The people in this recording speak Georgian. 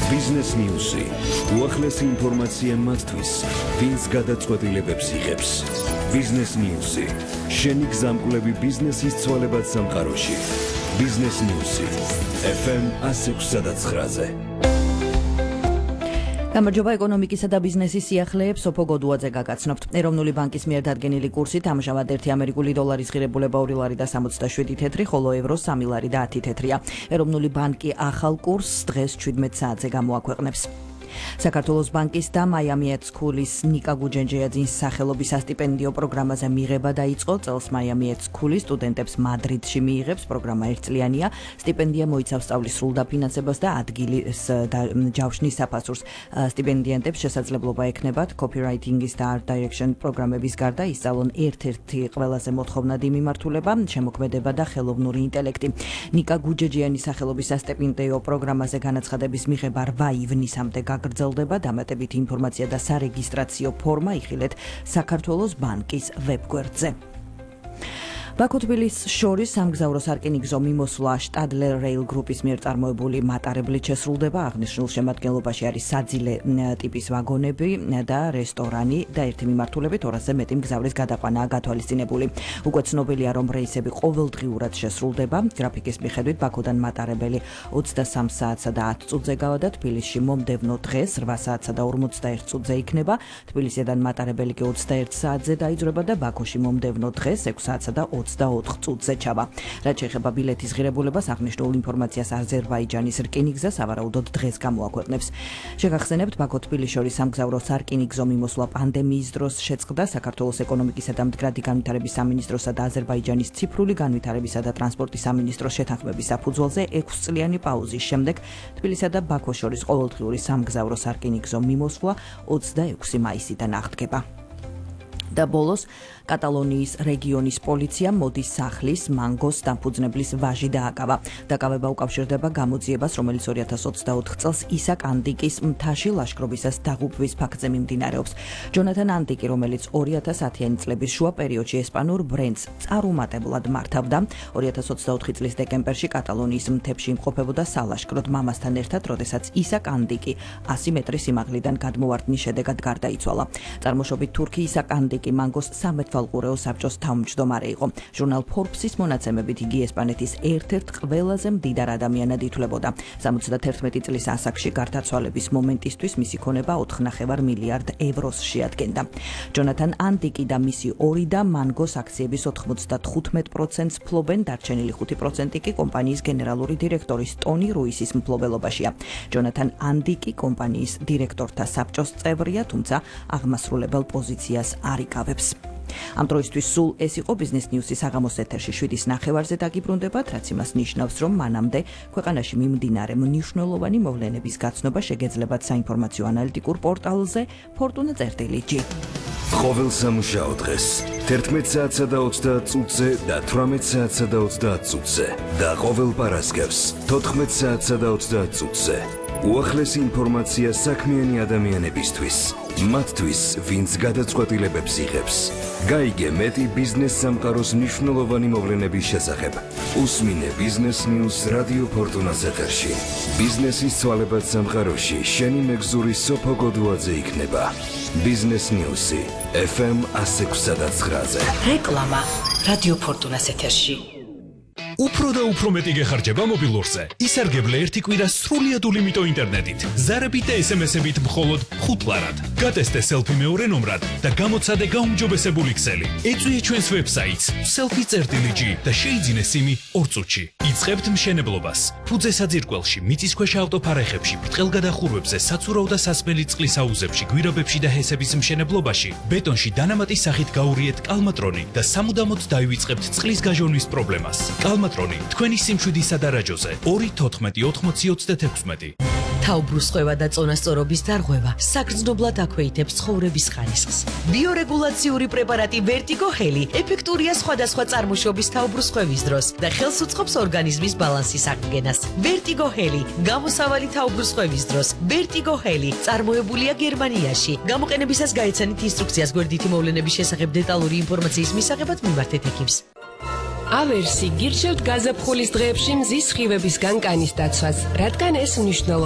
Business News-ი. უახლესი ინფორმაცია მათთვის, ვინც გადაწყვეტილებებს იღებს. Business News-ი. შენი გზამკვლევი ბიზნესის ცვალებად სამყაროში. Business News-ი. FM 106.9-ზე. გამარჯობა ეკონომიკისა და ბიზნესის სიახლეებს სოფო გოდუაძე გაგაცნობთ. ეროვნული ბანკის მიერ დადგენილი კურსით ამჟამად 1 ამერიკული დოლარის ღირებულება 2 ლარი და 67 თეთრი, ხოლო ევრო 3 ლარი და 10 თეთრია. ეროვნული ბანკი ახალ კურსს დღეს 17 საათზე გამოაქვეყნებს. საქართველოს ბანკის და მაიამი სკულის ნიკა გუჯენჯეაძის სახელობის სასტიპენდიო პროგრამაზე მიღება დაიწყო. წელს მაიამი სკულის სტუდენტებს მადრიდში მიიღებს. პროგრამა ერთწლიანია. სტიპენდია მოიცავს სწავლის სრულ დაფინანსებას და ადგილის ჯავშნის საფასურს. სტიპენდიანტებს შესაძლებლობა ექნებათ copywriting-ის და art direction პროგრამების გარდა ისწავლონ ერთ-ერთი ყველაზე მოთხოვნადი მიმართულება, შემოქმედება და ხელოვნური ინტელექტი. ნიკა გუჯენჯეაძის სახელობის სასტიპენდიო პროგრამაზე განაცხადების მიღება 8 ივნისამდე გაგრძელდება. დამატებითი ინფორმაცია და სარეგისტრაციო ფორმა იხილეთ საქართველოს ბანკის ვებგვერდზე. ბაქო-თბილისს შორის სამგზავრო სარკინიგზო მიმოსვლა შტადლერ რეილ გრუპის მიერ წარმოებული მატარებლით შესრულდება. აღნიშნულ შემადგენლობაში არის საძილე ტიპის ვაგონები და რესტორანი და ერთი მიმართულებით 200-ზე მეტი მგზავრის გადაყვანაა გათვალისწინებული. უკვე ცნობილია, რომ რეისები ყოველდღიურად შესრულდება. გრაფიკის მიხედვით ბაქოდან მატარებელი 23 საათსა და 10 წუთზე გავადა. თბილისში მომდევნო დღეს 8 საათსა და 41 წუთზე იქნება. თბილისიდან მატარებელი კი 21 საათზე დაიძრება და ბაქოში მომდევნო დღეს 6 საათსა და 24 წუთზე ჩავა. რაც შეეხება ბილეთის ღირებულებას, აღნიშნულ ინფორმაციას აზერბაიჯანის რკინიგზა სავარაუდოდ დღეს გამოაქვეყნებს. შეგახსენებთ, ბაქო-თბილისს შორის სამგზავრო სარკინიგზო მიმოსვლა პანდემიის დროს შეწყდა. საქართველოს ეკონომიკისა და მდგრადი განვითარების სამინისტროსა და აზერბაიჯანის ციფრული განვითარებისა და ტრანსპორტის სამინისტროს შეთანხმების საფუძველზე 6 წლიანი პაუზის შემდეგ თბილისსა და ბაქოს შორის ყოველდღიური სამგზავრო სარკინიგზო მიმოსვლა 26 მაისიდან აღდგება. და ბოლოს კატალონიის რეგიონის პოლიციამ მოდის სახლის მანგოს დამფუძნებლის ვაჟი დააკავა. დაკავება უკავშირდება გამოძიებას, რომელიც 2024 წელს ისაკ ანტიკის მთაში ლაშქრობისას დაღუპვის ფაქტზე მიმდინარეობს. ჯონათან ანტიკი, რომელიც 2010-იანი წლების შუა პერიოდში ესპანურ ბრენდს წარუმატებლად მართავდა, 2024 წლის დეკემბერში კატალონიის მთებში იმყოფებოდა სალაშქროდ მამასთან ერთად, როდესაც ისაკ ანტიკი 100 მეტრის სიმაღლიდან გადმოვარდნის შედეგად გარდაიცვალა. წარმოშობით თურქი ისაკ ანტიკი მანგოს სამეთვალყურეო საბჭოს თავმჯდომარე იყო. ჟურნალ Forbes-ის მონაცემებით იგი ესპანეთის ერთ-ერთ ყველაზე მდიდარ ადამიანად ითვლებოდა. 71 წლის ასაკში გარდაცვალების მომენტისთვის მისი ქონება 4,5 მილიარდ ევროს შეადგენდა. ჯონათან ანტიკი და მისი ორი და მანგოს აქციების 95%-ს ფლობენ, დარჩენილი 5% კი კომპანიის გენერალური დირექტორის ტონი რუისის მფლობელობაშია. ჯონათან ანტიკი კომპანიის დირექტორთა საბჭოს წევრია, თუმცა აღმასრულებელ პოზიციას არ იკავებს. ამ დროისთვის სულ ეს იყო Business News-ის საღამოს ეთერში 7:30-ზე დაგიბრუნდებათ, რაც იმას ნიშნავს, რომ მანამდე ქვეყანაში მიმდინარე მნიშვნელოვანი მოვლენების გაცნობა შეგეძლებათ საინფორმაციო ანალიტიკურ პორტალზე Fortuna.gr. ყოველ სამუშაო დღეს 11 საათსა და 30 წუთზე და 18 საათსა და 30 წუთზე და ყოველ პარასკევს 14 საათსა და 30 წუთზე. უახლესი ინფორმაცია საქმიანი ადამიანებისთვის. მათთვის, ვინც გადაწყვეტილებებს იღებს. გაიგე მეტი ბიზნეს სამყაროს მნიშვნელოვანი მოვლენების შესახებ. უსმინე Business News რადიო Fortuna-ს ეთერში. ბიზნესის ცვალებად სამყაროში შენი მეგზური სოფო გოდუაძე იქნება. Business News-ი FM 106.9-ზე. რეკლამა რადიო Fortuna-ს ეთერში. უფრო და უფრო მეტი გეხარჯება მობილურზე. ისარგებლე ერთი კვირა სრულიად ულიმიტო ინტერნეტით. ზარებით და SMS-ებით მხოლოდ 5 ლარად. გატესტე selfie მეორე ნომრად და გამოცადე გაუმჯობესებული ქსელი. ეწვიე ჩვენს ვებსაიტს selfie.gr და შეიძინე სიმი 2 წუთში. იწყებთ მშენებლობას. ფუძე საძირკველში, მიწისქვეშა ავტოფარეხებში, ბრტყელგადახურვებზე, საცურაო და სასმელი წყლის აუზებში, გვირაბებში და ჰესების მშენებლობაში, ბეტონში დანამატის სახით გაურიეთ კალმატრონი და სამუდამოდ დაივიწყებთ წყლის გაჟონვის პრობლემას. კალმატრონი თქვენი სიმშვიდისა და რაჯოზე 2-14-80-36. თაუბრუსხვევა და წონასწორობის დარღვევა საგრძნობლად აქვეითებს ცხოვრების ხარისხს. ბიორეგულაციური პრეპარატი Vertigo Heli ეფექტურია სხვადასხვა წარმოშობის თაუბრუსხვევის დროს და ხელს უწყობს ორგანიზმის ბალანსის აღდგენას. Vertigo Heli გამოსავალი თაუბრუსხვევის დროს. Vertigo Heli წარმოებულია გერმანიაში. გამოყენებისას გაეცანით ინსტრუქციას გვერდითი მოვლენების შესახებ დეტალური ინფორმაციის მისაღებად მიმართეთ ექიმს. ავერსი გირჩევთ გაზაფხულის დღეებში მზის სხივებისგან კანის დაცვას, რადგან ეს მნიშვნელოვანია